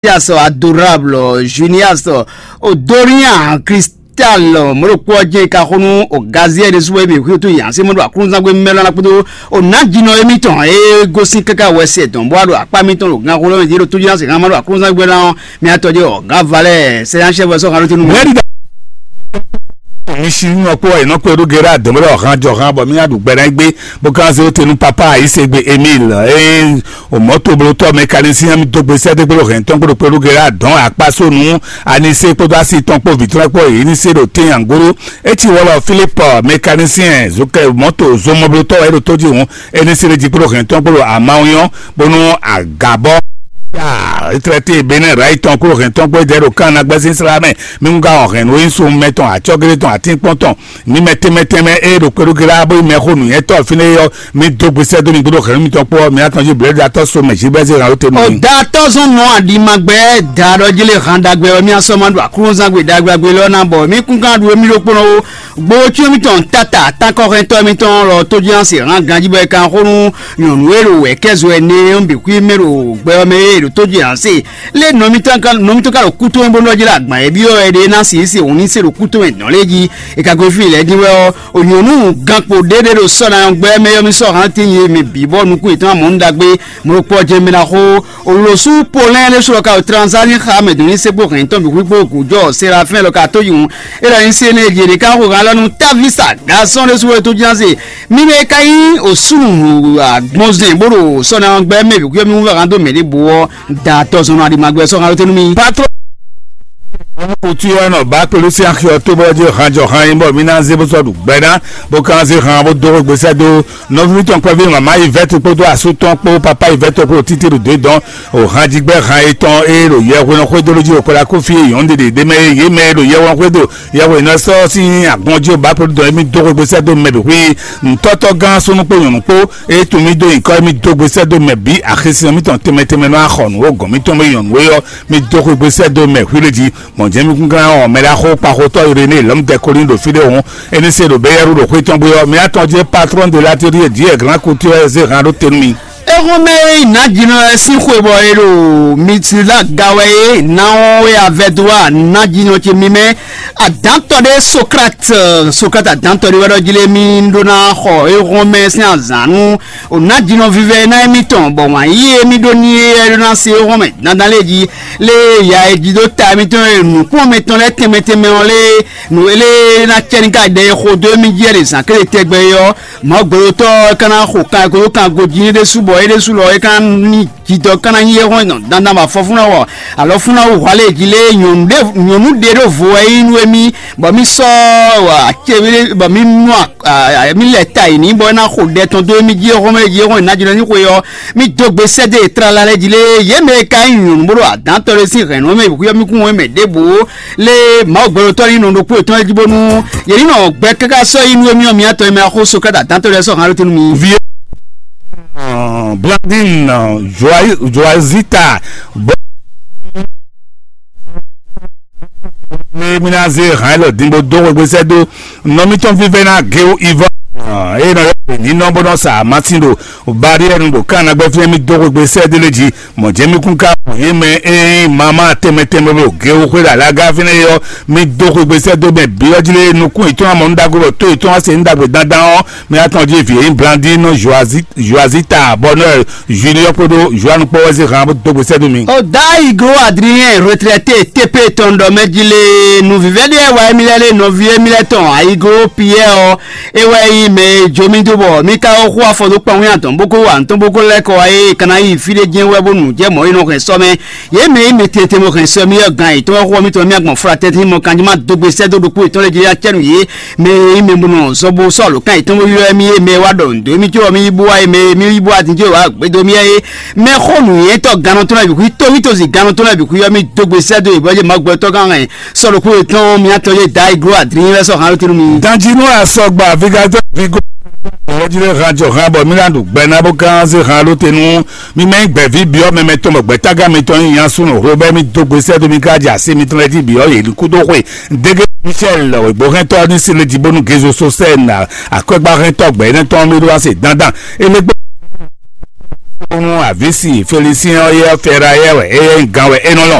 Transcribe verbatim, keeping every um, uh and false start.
Junias, Adorable Junias, Odorian Cristal, mɔɖokpɔ jɛ ka xo nú o Gaziel ɖésú wɛ mi xwíxwí tó yǎn sí mɔɖo aklúnzán gbé mɛlɔ ná kpódó o nǎjínɔ émítɔn e gosín káká wɛ se dɔn bó wá ɖo akpá mitɔn ɖo gan xo lɔ mɛ jí ɖo tó jí ná se hán ma ɖo aklúnzán gbé ná ɔ́, mi atɔ jɛ ɔ gǎn valɛ sɛ yán chef wɛ sɔ hán ɖó tɛnu. Mi si nɔ kpó ɛ nɔ kpé ɖó gera dɔn bó ɖɔ hán jɔ hán bɔ mi ná ɖu gbɛ ná gbé bó kan se ó tenu papa ayisegbe Emile. O mɔ̌toblótɔ́ mɛkanisín mi dó gbe sɛ́dégbé ɖo hɛn tɔn kpódó kpɛɖú gera dɔn akpásónú anisé kpódó asi tɔn kpó vǐtrɔ́ kpó yě ní se ɖo tɛ́nyangóɖó. É ci wɔlɔ Philippe mɛkanisín zokɛ mɔ̌to zomɔblótɔ́ wɛ é ɖo tó jí hǔn é ní se ɖo jí kpódó hɛn tɔn kpódó amawunyɔ́ bónú agǎbɔ. Étrɛ́té Benɛ́ Rayi tɔn kpódó hɛn tɔn kpó é dɛ ɖo kán ná gbɛ́ sín slá mɛ. Mi ŋu ka wɔn hɛn nǔ e nyí sun mɛ tɔn acɔ́gélé tɔn atínkpɔ́n tɔn ní mɛ tɛnmɛ tɛnmɛ e ɖo kpɛɖúgélá bó nyí mɛxó nǔnywɛ́tɔ́ fínɛ́ é ɔ́, mi dó gbe sɛ́ dó mi gbódó hɛ̌nnu mitɔn kpó ɔ́, mi ná tɔn jí blɛ̌ɖu atɔ́ so mɛ jí bɛ́ zé hǎn ló te nú mi. Ọ̀dà tɔ́zɔ́n nɔ àɖìmagbɛ da ɖɔ jí lé han ɖagbe ɔ́, mì asɔ́ ma ɖo aklúnzán gbe ɖagbe lɔ́ ná bɔ mì kún gán ɖu émí ɖokpónɔ ó. Gbowó cyɔ́n mitɔn tata tánkɔ́hɛntɔ́ mitɔn lɔ tó jí ná se hǎn ganjí bɔ é kan xó nú nyɔ̌nu e ɖo wɛ̌kɛ́zo ɛnɛ ɔ́ bǐ xwí mɛ ɖo gbɛ ɔ́ mɛ e ɖo tó jí ná se. Lé nɔ mitɔn ka nɔ mitɔn ka ɖo kú tɔn bó nɔ jlá agban e byɔ́ wɛ ɖe ná si se òun ní se ɖo kú tɔn mɛ dɔn lé jí. E ka gbe fí lɛ́ɛ dín wɛ ɔ́, o nyɔ̌nu gankpo ɖé ɖé ɖo sɔ́ ná gbɛ mɛ yɔ́ mi sɔ́ hán tín yi mi bǐ bɔ nukún yětɔn amɔ̌ nu ɖagbe mo ɖo kpɔ́ jɛ mɛ ná xó. O lǒ sú polɛ́n ɖé sú lɔ ka o tranzá ní xa mɛ dǒ ní sɛ́kpó hɛn tɔn bǐ xwíxwó gǔjɔ serafɛ́n lɔ ka tó yi hǔn. É ɖɔ nyi se nɛ jě ɖé ka xo hán lɔ nú távísa gasɔ́n ɖé sú wɛ tó ján se. Mi mɛ ka nyí osúnù agbɔnzɛn bó ɖo sɔ́ ná gbɛ mɛ bǐ xwíxwó mi wú hán dó mɛ ɖěbǔ ɔ́, da tɔzɔnɔ aɖimagbɛ sɔ́ hán ló tɛ́ nú mi. Patro kutu yɔ nɔ ba kpelu sí axi ɔ́ tó bɔ jɛ hanjɔ han yi bɔ mi ná zé bó sɔ́ ɖu gbɛ ná bó kan zé han bó dó xwé gbèsè dó nɔví tɔn kpɛví mama yi vɛ́ tó kpódó asú tɔn kpó papa yi vɛ́ tó kpó títí ɖo dó dɔn o han jí gbɛ han yi tɔn e ɖo yɛ hwenu xwé dó ló jí o kpɛlá kó fí yɔn ɖe ɖe ɖe mɛ ye mɛ ɖo yɛ hwenu xwé dó yɛ hwenu sɔ sín agbɔn jí o ba kpódó dɔn émí dó xwé gbèsè dó mɛ bǐ xwí ntɔ́tɔ́ gán súnú kpó nyɔ̌nu kpó e tún mì dó nyǐkɔ émí dó gbèsè dó mɛ bǐ axisínɔ mítɔn tɛnmɛ tɛnmɛ nɔ axɔ nǔ o gɔ̌n mítɔn mɛ nyɔ̌nu é ɔ́ mi dó xwé gbèsè dó mɛ hwí lé jí. Mɔ̌ jɛ́n mi kún gán ɔ́ mɛ ɖaxó kpaxotɔ́ Irené lɔmdɛkolín ɖo fí ɖé hǔn, é ní se ɖo Beyɛ́ru ɖo xwé tɔn gbé ɔ́, mi atɔn jɛ patron de l'atelier Dieu grand couture zé han ɖó te nú mi. Éhɔ́nmɛ e nǎjínɔ lɛ́ɛ sín xwe bɔ è ɖo Mitilá ga wɛ é, ná ɔ́ é avɛdó a nǎjínɔ ce mímɛ́. Adǎntɔ́ ɖé Sokrate, Sokrate adǎntɔ́ ɖé wɛ ɖɔ jí lé mì ɖó ná xɔ éhɔ́nmɛ sín azǎn nú o nǎjínɔ vívɛ́ ná émítɔn, bɔ wǎn yíyí émí ɖó ní é ɖó ná se éhɔ́nmɛ dandan lé jí. Lé ya e jí dó ta mitɔn e nǔkplɔ́nmɛ tɔn lɛ́ɛ tɛnmɛ tɛnmɛ ɔ́ lé nǔ e lé ná cɛ ní ka ɖɛ e xo dó émí jí wɛ ɖe zǎn kélé tɛgbɛ é ɔ́, Mawu gbɛɖotɔ́ ɔ́ é ka ná xo kan e ko dó kan gojí ní ɖésú bɔ é ɖésú lɔ é ka ná ní jidɔ ka ná nyí é hɔn dandan bɔ afɔfúnɔ wɔ alɔfúnɔ wú hwalé jí lé nyɔ̌nu ɖé nyɔ̌nu ɖé ɖó vo wɛ é nyí nú émí bɔ mí sɔ́ acéwé bɔ mí nú mí lɛ ta yi ní bɔ é ná xo ɖɛ tɔn dó émí jí é hɔn mɛ jí é hɔn é ná jlɔ́ ní xwe ɔ́. Mì dó gbe sɛ́ dó e tlala lɛ́ɛ jí lé, yě mɛ e ka nyí nyɔ̌nu bó ɖo adǎntɔ́ lɛ́ɛ sín hɛ̌nnu mɛ bǐ xwíxwɛ́ mì kún wɛn mɛ ɖěbǔ ó. Lé Mawu gbɛɖotɔ́ nyí nɔ ɖokpó yětɔn lɛ́ɛ jí bónú yě ní nɔ gbɛ káká sɔ́ yi nú émí ɔ́, mi atɔn e mɛ axó Sokrate adǎntɔ́ lɛ́ɛ sɔ́ hǎn ɖó te nú mi. Vǐ Blandine Joazita bɔ mi mi ná zé hǎn lɔ díngbó dó xwégbé sɛ́ dó nɔ mítɔn vívɛ́ ná géwu Ivɔ eye nɔ yɔ ní nɔ bó nɔ sa amasin ɖo bariɛnu ɖo kan nagbɛ fínɛ́ mí dó xwégbé sɛ́ dó lé jí. Mɔ̌ jɛ́n mí kún ká mɔ yě mɛ e nyí mama tɛnmɛ tɛnmɛ bó géwu xwé ɖo alága fínɛ́ é ɔ́, mí dó xwégbé sɛ́ dó mɛ bǐ ɔ́ jí lé nukún yětɔn amɔ nú ɖagbe bɔ tó yětɔn wá se nú ɖagbe dandan ɔ́, mí atɔn jí vǐ e nyí Blandine Joazita Bonheur Junior kpódó Joanu kpó wɛ zé han bó dó gbe sɛ́ dó mi. O Daigo Adrien retraité T P tɔn ɖɔ mɛ jí lé nuvívɛ́ ɖé wɛ émí lɛ́ lé nɔví émí lɛ́ tɔn Aigo Pierre ɔ́, é wɛ nyí mɛ e jó mì dó bɔ mì ka xo afɔ dó kpan wín atɔn bó kó wa nǔtɔn bó kó lɛ́ kɔ wá é ka ná yi fí ɖé jɛ́n wɛ bó nǔ jɛ mɔ̌ e nɔ hɛn sɔ́ mɛ. Yě mɛ e mɛ tete mɔ hɛn sɔ mì ɔ́ gan yětɔn wɛ xo mì tɔn mì agbɔn flatɛ́ntin mɔ kanjí má dó gbe sɛ́ dó ɖokpó yětɔn lɛ́ɛ jí acɛ́ nǔ yě. Mɛ e nyí mɛ bó nɔ zɔ bó sɔ́ alǒkan yětɔn bó ylɔ́ mì é, mɛ e wá ɖɔ nǔ dó mì có ɔ́, mì yi bú wá é, mɛ e mì yi bú wá din có wá gbé dó mì é. Mɛ xó nǔnywɛ́tɔ́ gannɔtɔ́ lɛ́ɛ bǐ xwí, tóvítózi gannɔtɔ́ lɛ́ɛ bǐ xwí ɔ́, mì dó gbe sɛ́ dó yě bɔ yě má gbɔ tɔ́ gán hɛn sɔ́ ɖokpó yětɔn mì atɔn yé Daigo Adrien wɛ sɔ́ han ló tɛ́ nú mi. Danjinu asɔgba vigadɔ vigo ɔjire hajɔ han bɔ mí ná ɖu gbɛ ná bó gán zé han ló tɛ́ nú mi mɛ gbɛ̌ví byɔ́ mɛ mɛtɔn bɔ gbɛ̌tágán mitɔn nyí nya súnnu hlo bɛ́ mì dó gbe sɛ́ dó mi ká jɛ así mitɔn lɛ́ɛ jí byɔ́ yě kúdó xwe. Dégé Michel wěgbóhɛntɔ́ ní se le jí bónú Gezo Sosɛ́n akwɛ́gbáhɛntɔ́ gbɛ̌nɛ́tɔn mi ɖó wá se dandan. Elégbé Nú avǐsi Felisín ɔ́ yɛ Fɛrayɛ wɛ é nyí gán wɛ é nɔ lɔ.